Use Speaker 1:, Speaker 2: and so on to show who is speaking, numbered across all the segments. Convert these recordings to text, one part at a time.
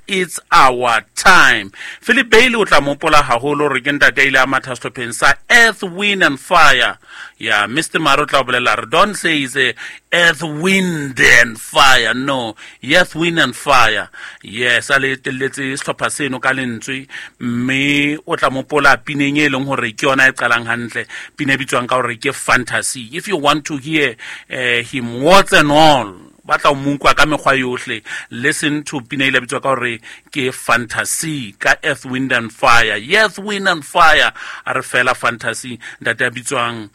Speaker 1: It's our time. Philip Bailey o tla mopola haholo hore ke ntate a ile a matha sehlopheng sa Earth, Wind and Fire. Ya Mr Maro o tla bolela re don't say is a Earth, Wind and Fire, no, Earth, Wind and Fire. Yes, a le etelletse sehlopha seno ka lentswe, mme o tla mopola pineng e leng hore ke yona e qalang hantle, pina e bitswang ka hore ke Fantasy. If you want to hear him warts and all, ba tla o monkwa ka mekgwa yohle, listen to pina ile bitswa ka hore ke Fantasy ka Earth, Wind and Fire. Earth, Wind and Fire, a re fela Fantasy, ntate a bitswang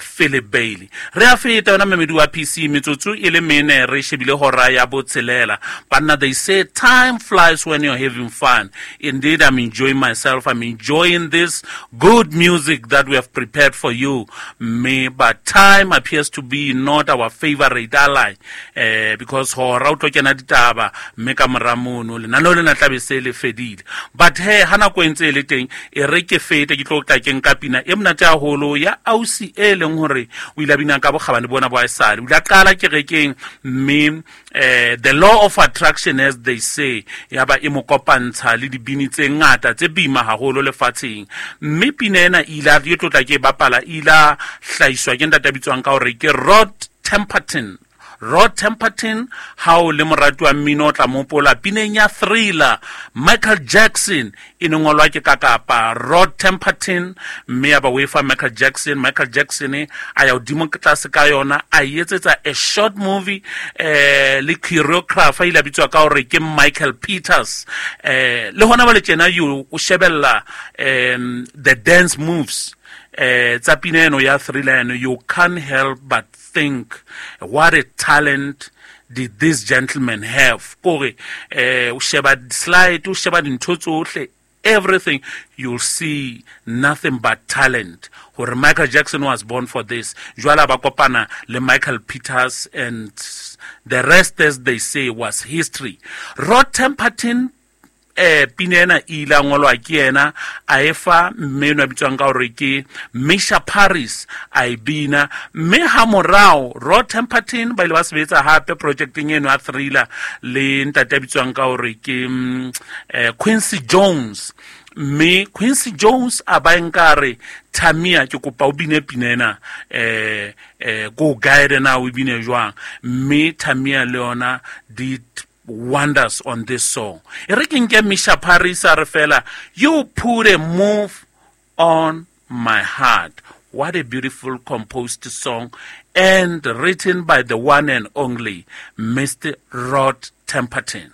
Speaker 1: Philip Bailey. Re a feta yona memedi wa PC, metsotso e le mene re shebile hora ya botshelela. Banna, they say time flies when you're having fun. Indeed, I'm enjoying myself. I'm enjoying this good music that we have prepared for you. Me, but time appears to be not our favorite ally. Because hora o tlo kena ditaba mme ka mora mono lenaneo lena tla be se le fedile. But he ha nako e ntse e le teng, e re ke fete ke tlo tla ke nka pina e monate haholo ya ausi e leng hore o ile a bina ka bokgabane bona bo haesale. O ile a qala kerekeng mme the law of attraction, as they say, ya ba e mo kopantsha le dibini tse ngata tse boima haholo lefatsheng. Mme pina ena e ile e tlo tla ke e bapala, e ile a hlahiswa ke ntate a bitswang ka hore ke Rod Temperton. Rod Temperton, ha o le morati wa mmino o tla mopola pineng ya Thriller, Michael Jackson, e ne ngolwa ke kakapa Rod Temperton, mme ya ba o e fa Michael Jackson. Michael Jackson a ya hodimo tlase ka yona, a e etsetsa a short movie, le choreographer ile a bitswa ka hore ke Michael Peters. Le hona jwale tjena you o shebella the dance moves tsa pina eno ya Thriller eno, you can't help but think what a talent did this gentleman have. Kore o sheba slide, o sheba dintho tsohle, everything, you'll see nothing but talent. Hore Michael Jackson was born for this. Jwale ba kopana le Michael Peters, and the rest, as they say, was history. Rod Temperton, pina ena e ile a ngolwa ke yena, a e fa mme enwa a bitswang ka hore ke Misha Paris, a e bina. Mme ha morao Rod Temperton ba ile ba sebetsa hape projecteng eno ya Thriller le ntate a bitswang ka hore ke Quincy Jones. Mme Quincy Jones a ba nkare Tamia, ke kopa o bine pina ena, ko guide na o bine jwang. Mme Tamia le yona did wonders on this song. E re ke nke Misha Paris a re fela, you put a move on my heart. What a beautiful composed song, and written by the one and only Mr. Rod Temperton.